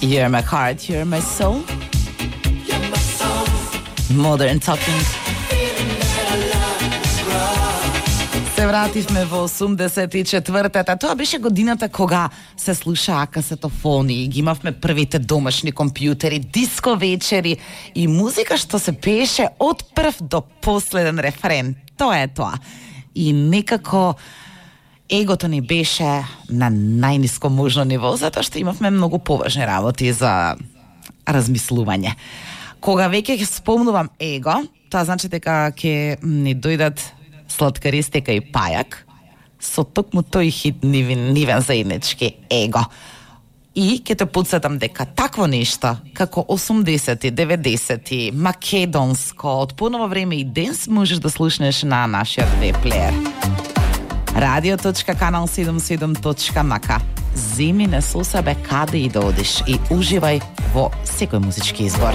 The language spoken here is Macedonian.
You're my heart, you're my soul. Modern Talking. Се вративме во 84-та. Тоа беше годината кога се слушаа касетофони, ги имавме првите домашни компјутери, диско вечери и музика што се пееше од прв до последен рефрен. Тоа е тоа. И некако егото ни беше на најниско можно ниво, затоа што имавме многу поважни работи за размислување. Кога веќе ќе спомнувам его, тоа значи дека ќе ни дојдат Сладка Ристика и Пајак со токму тој хит нивен заеднички его. И ќе те подсетам дека такво нешто како 80-ти, 90-ти, македонско, од поново време и денес можеш да слушнеш на нашиот веб-плеер. radio.kanal77.mk. Земи не со себе каде и да одиш и уживај во секој музички избор.